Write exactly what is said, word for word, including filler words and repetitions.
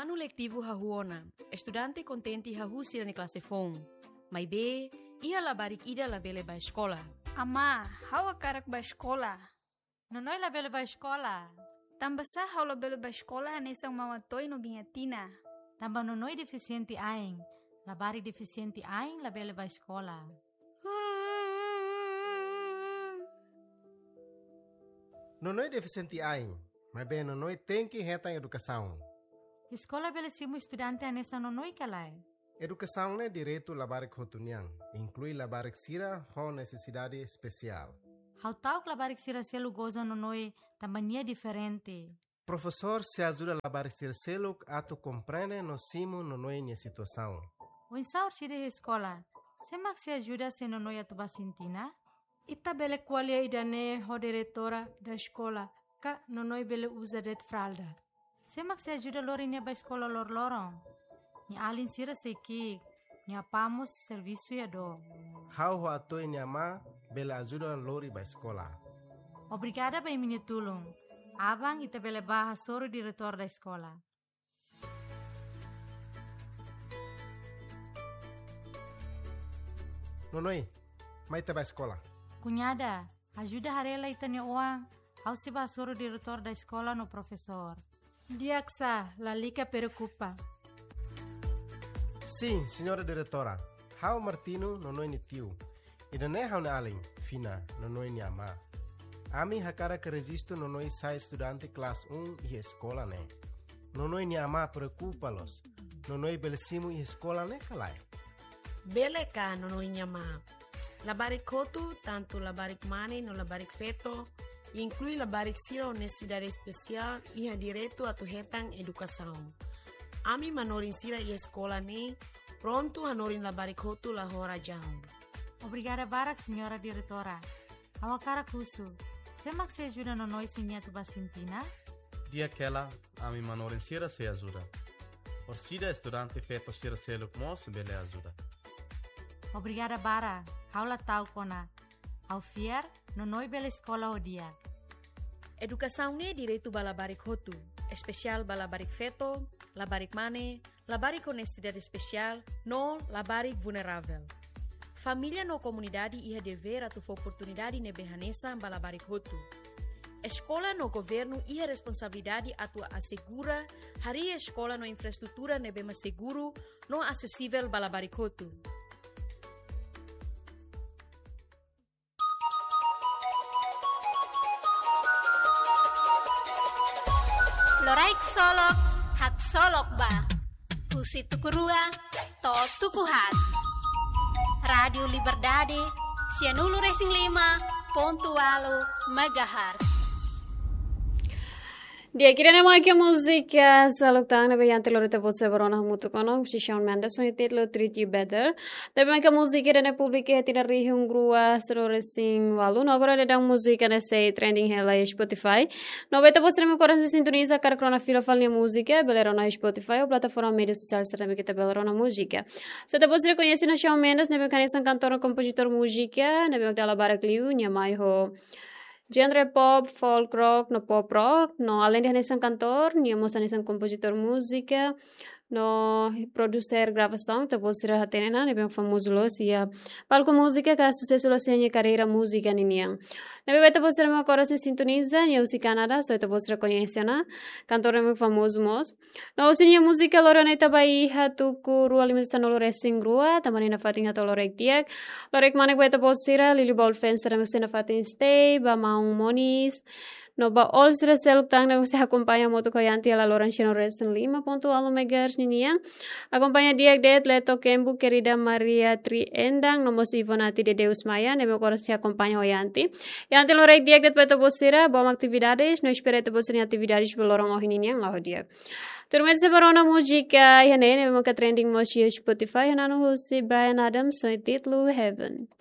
Anu letivu hahú ona, estudante kontente hahú sira-nia klase foun. Maibé, iha labarik ida labele bá eskola. Amá, ha'u hakarak bá eskola. Nonoi labele bá eskola. Tanbasá ha'u labele bá eskola hanesan Mama Toy no Biña Tina? Tanba Nonoi defisiente ain. Labarik defisiente ain labele bá eskola. Nonoi defisiente ain, maibé Nonoi tenke hetan edukasaun. Eskola bele simu estudante hanesan Nonoi ka lae? Edukasaun ne'e direitu labarik hotu nian, inklui labarik sira ho nesesidade espesiál. Ha'u ta'uk labarik sira seluk goza Nonoi tanba nia diferente. Profesór sei ajuda labarik sira seluk atu komprende no simu Nonoi nia situasaun. Oinsá orsida iha eskola? Sé mak sei ajuda se Nonoi atu bá sintina? Ita bele ko'alia ida-ne'e ho diretora da eskola, ka Nonoi bele uza de'it fralda. Sé mak sei ajuda lori nia bá eskola loroloron? Nia alin sira sei ki'ik, nia apá mós servisu iha dook. Ha'u ho Atoy nia amá bele ajuda lori bá eskola. Obrigada ba imi-nia tulun. Aban ita bele bá hasoru diretór da eskola. Nonoi, mai ita bá eskola. Kuñada, ajuda haree lai ita-nia oan, ha'u sei bá hasoru diretór da eskola no profesór. Di'ak sá, lalika preokupa. Sin, señora diretora, ha'u Martino, Nonoi nia tiu. Ida-ne'e ha'u-nia alin, Fina, Nonoi nia amá. Ami hakarak rejistu Nonoi sai estudante klase um iha eskola ne'e. Nonoi nia amá preokupa loos. Nonoi bele simu iha eskola ne'e ka lae? Bele ka, Nonoi nia amá. Labarik hotu, tantu labarik mane no labarik feto, inklui labarik sira ho nesesidade espesiál, iha direitu atu hetan edukasaun. Ami manorin sira iha eskola ne'e prontu hanorin labarik hotu la ho razaun. Obrigada barak, señora diretora. Ha'u hakarak husu, sé mak sei ajuda Nonoi se nia atu bá sintina? Di'ak hela, ami manorin sira sei ajuda. Orsida estudante feto sira seluk mós bele ajuda. Obrigada barak, ha'u la ta'uk ona. Ha'u fiar, Nonoi bele eskola ho di'ak. Edukasaun ne'e direitu ba labarik hotu, espesiál ba labarik feto, labarik mane, labarik ho nesesidade espesiál, no labarik vulneravel. Família no komunidade iha devér atu fó oportunidade ne'ebé hanesan ba labarik hotu. Eskola no governu iha responsabilidade atu asegura harii eskola no infraestrutura ne'ebé mak seguru no asesivel ba labarik hotu. Loraik solok, haksolok ba. Husi tuku rua to'o tuku haat. Rádiu Liberdade, sianulu resin lima pontu ualu megahertz. Di'ak, ida-ne'e mak múzika seluk tan ne'ebé iha anterior ita-boot sira bá rona hamutuk ona, husi Shawn Mendes, ho títulu Treat You Better. Ne'ebé mak múzika ida-ne'e publika iha tinan rihun rua sanulu resin ualu, no agora daudaun múzika ne'e sei trending hela iha Spotify. No ba ita-boot sira ne'ebé koras sintoniza, hakarak rona fila fali nia múzika, bele rona iha Spotify ou plataforma média sosiál sira ne'ebé ita bele rona múzika. Se ita-boot sira koñese ona Shawn Mendes, ne'ebé hanesan kantór no kompozitór múzika, ne'ebé dala barak liu, nia mai ho genre pop, folk rock, no pop rock, no aleinde hanesan kantór, nia mós hanesan kompozitór múzika, no produser gravasaun, ita-boot sira hatene ona, ne'ebé famozu loos iha palku múzika, ka susesu loos iha nia karreira múzika ninian. Ne'ebé ba ita-boot sira ne'ebé koras sintoniza, nia husi Kanadá, so ita-boot sira koñese ona, kantór ne'ebé famozu mós. No husi nia múzika lori ona ita ba iha tuku rua lima sanulu resin rua, tanba nia nafatin hato'o loraik di'ak. Loraik manek ba ita-boot sira, liuliu ba all fans sira ne'ebé sei nafatin stay, ba maun Monis. No ba all sira seluk tan ne'ebé sei akompaña hamutuk ho Yanti hela loron sianulu resin lima pontu ualu megahertz ninian. Akompaña di'ak de'it Leto Kembu, Querida Maria Triendang, no mós Ivonati de Deus Maia, ne'ebé koras sei akompaña ho Yanti. Yanti loraik di'ak de'it ba ita-boot sira, bom atividades, no espera ita-boot sira-nia atividades ba loron ohin ninian la'o di'ak. Tuirmai ita sei bá rona múzika iha ne'e, ne'ebé mak trending mós iha Spotify, iha nonu husi Bryan Adams, ho títulu Heaven.